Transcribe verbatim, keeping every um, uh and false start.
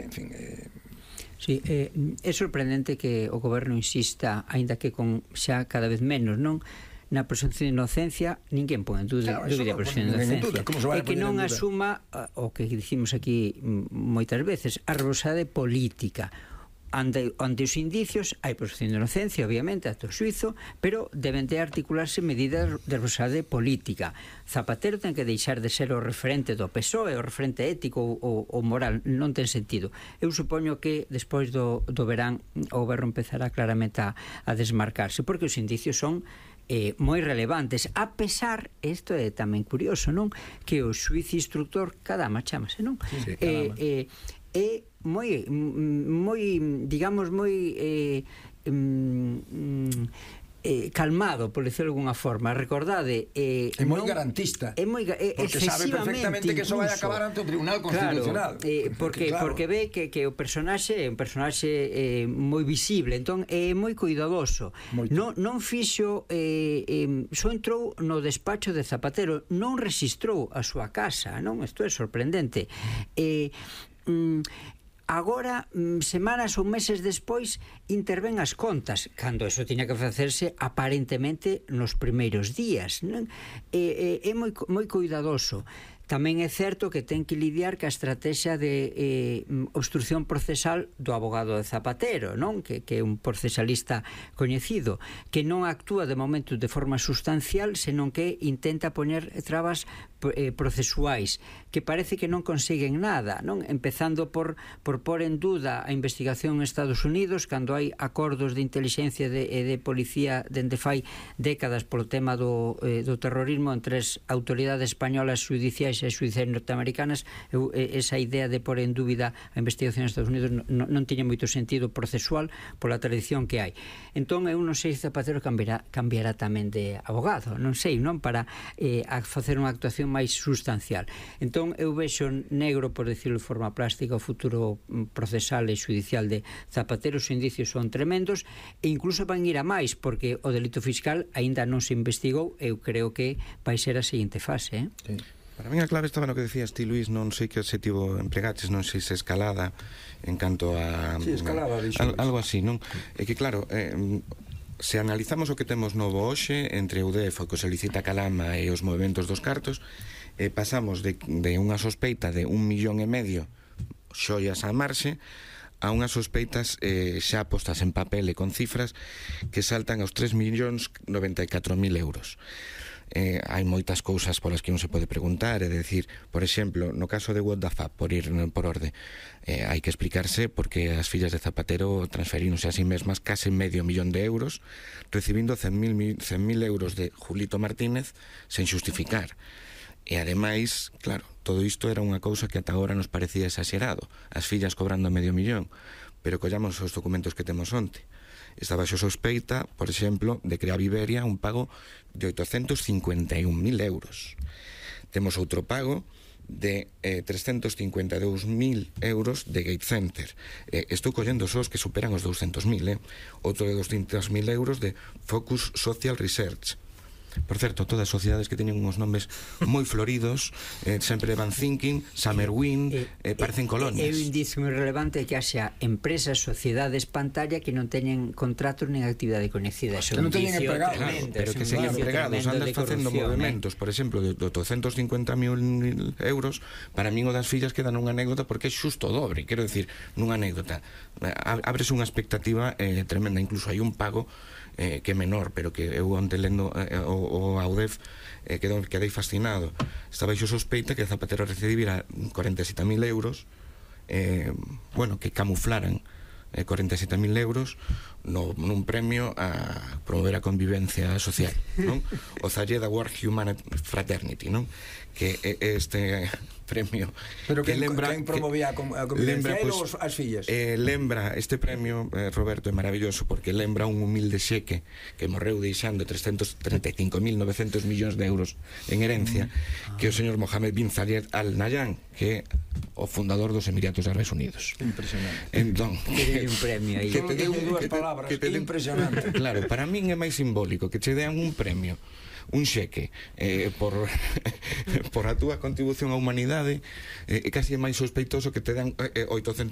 en fin... Eh... Sí, eh, é sorprendente que o goberno insista, aínda que con xa cada vez menos, non? Na presunción de inocencia, ninguén pon en dúvida a presunción de inocencia, e que non asuma o que dicimos aquí moitas veces, a responsabilidade política. Ante, ante os indicios hai presunción de inocencia, obviamente, ante o xuizo, pero deben de articularse medidas de responsabilidade política. Zapatero ten que deixar de ser o referente do P S O E, o referente ético ou, ou moral, non ten sentido. Eu supoño que despois do, do verán o goberno empezará claramente a, a desmarcarse, porque os indicios son Eh, moi relevantes, a pesar, isto é tamén curioso, non? Que o xuiz instructor, Cadama chamase, non? Sí, sí, eh, eh, é moi, moi, digamos, moi eh, mm, eh, calmado, por decirlo de alguna forma. Recordade, eh, é moi non, garantista, é moi, eh, porque sabe perfectamente que eso vai a acabar ante o Tribunal Constitucional. Claro, eh, porque, claro. porque ve que, que o personaxe é un personaxe eh, moi visible, entón é moi cuidadoso. Moito. Non, non fixo eh, eh, só entrou no despacho de Zapatero, non registrou a súa casa, non? Isto é sorprendente. Eh, mm, agora, semanas ou meses despois, intervén as contas, cando eso tiña que facerse aparentemente nos primeiros días, non? É, é, é moi, moi cuidadoso. Tamén é certo que ten que lidiar ca estrategia de eh, obstrucción procesal do abogado de Zapatero, non? Que, que é un procesalista coñecido, que non actúa de momento de forma sustancial, senón que intenta poñer trabas eh, procesuais, que parece que non consiguen nada, non? Empezando por, por pôr en duda a investigación en Estados Unidos, cando hai acordos de inteligencia e de, de policía dende fai décadas polo tema do, eh, do terrorismo entre as autoridades españolas judiciais e judiciais norteamericanas. Eu, esa idea de pôr en dúbida a investigación en Estados Unidos non, non tiña moito sentido procesual pola tradición que hai. Entón eu non sei se Zapatero cambiará, cambiará tamén de abogado, non sei, non? Para eh, a facer unha actuación máis sustancial. Entón eu vexo negro, por decirlo de forma plástica, o futuro procesal e judicial de Zapatero. Os indicios son tremendos e incluso van ir a máis, porque o delito fiscal aínda non se investigou. Eu creo que vai ser a seguinte fase, eh? Sí. Para mí a clave estaba no que decías ti, Luís, non sei que adxetivo empregaches, non sei se escalada en canto a... Sí, escalada, dixo. Al, algo así, non? É que claro, eh, se analizamos o que temos novo hoxe entre o D E F, o que se licita Calama e os movimentos dos cartos, eh, pasamos de, de unha sospeita de un millón e medio xoias a marxe a unhas sospeitas eh, xa postas en papel e con cifras que saltan aos tres millóns noventa e catro mil euros. Eh, hai moitas cousas polas que non se pode preguntar, é dicir, por exemplo, no caso de What the Fuck, por ir por orde, eh, hai que explicarse porque as fillas de Zapatero transferíronse a sí mesmas case medio millón de euros, recibindo cen mil euros de Julito Martínez sen xustificar. E ademais, claro, todo isto era unha cousa que ata agora nos parecía exagerado, as fillas cobrando medio millón, pero collamos os documentos que temos onte. Estaba xo sospeita, por exemplo, de crear Iberia un pago de oitocentos cincuenta e un mil euros. Temos outro pago de eh, trescentos cincuenta e dous mil euros de Gate Center. Eh, estou collendo sós que superan os douscentos mil, eh? Outro de doscientos mil euros de Focus Social Research. Por certo, todas as sociedades que teñen uns nomes moi floridos, eh, sempre van thinking, Summer Wind, eh, eh, parecen colonias. É un indicio moi relevante que haxa empresas, sociedades pantalla que non teñen contratos nen actividade coñecida. Que non teñen empregados, claro, pero que seguen empregados, andas facendo movimentos, por exemplo, de oitocentos cincuenta mil euros. Para min o das fillas queda nunha anécdota porque é xusto o dobre, quero decir, nunha anécdota ábrese unha expectativa eh, tremenda, incluso hai un pago eh, que é menor, pero que eu onte lendo eh, o, o Audef eh, quedou, quedei fascinado. Estaba xo sospeita que Zapatero recibira cuarenta e sete mil euros, eh, bueno, que camuflaran eh, cuarenta e sete mil euros no, nun premio a promover a convivencia social, non? O Zalleda World Human Fraternity, non? Que é este premio. Pero que, que lembra, quen promovía a convivencia, ele ou as fillas? Eh, lembra, este premio, eh, Roberto, é maravilloso porque lembra un humilde xeque que morreu deixando trescentos treinta e cinco mil novecientos millóns de euros en herencia, mm. que é o señor Mohamed bin Zayed Al Nahyan, que é o fundador dos Emiratos Árabes Unidos. Impresionante. Entón, que un premio aí. Que te den dúas palabras, que te den, impresionante. Claro, para min é máis simbólico que che dean un premio, un xeque eh, por por a túa contribución á humanidade, é eh, casi máis sospeitoso que te dan eh, oitocentos